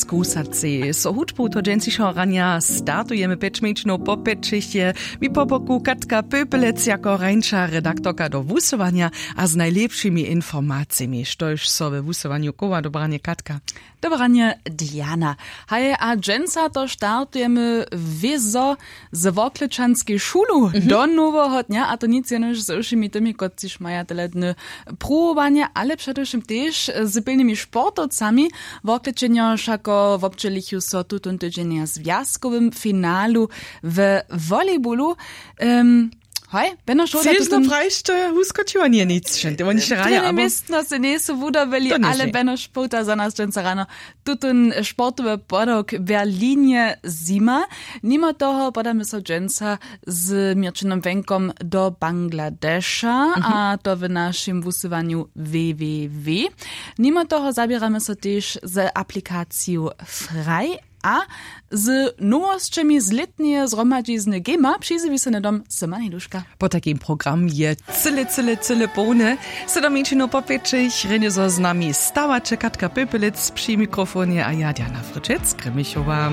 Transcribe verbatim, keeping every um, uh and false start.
Kusacej so hudbu to dźensišeho ranja startujemy pjeć mjeńšinow po pjećich je mi po boku Katka Pöpelec jako rańša redaktorka do wusyłanja a z najlěpšimi informacijemi štož so we wusyłanju kowa. Dobranje Katka. Dobranje Diana. Haj a dźensa to startujemy wězo z worklečanskej šulu do noweho dnja a to nic jenož z wšěmi tymi kotřiž maja tele dny pruwowanje ale předewšěm tež z pilnymi sportowcami. Worklečenjo wšako wobdźělichu so tutón tydźeń na zwjazkowym finalu we volleybolu. Hoj beno šołda. Prajšće wuskočiło nje nic wšente woni sće raja abo městno se njejsu wudobili ale beno špołta za nas dźensa rano. Tutón sportowy podawk w berlinje zima. Nimo toho podamy so dźensa z měrćinom wjenkom do bangladeša a to w našim wusyłanju www. Nimo toho zaběramy so tež z aplikaciju fraj a z nowosćemi z lětneje zhromadźizny gema přizjewi so hnydom syma nejduška. Potajkim program je cyle cyle cyle połny. Sydomničinu po pěćich rjenje zo z nami stawaće katka pepelec při mikrofonje a ja diana fryčec krimichowa.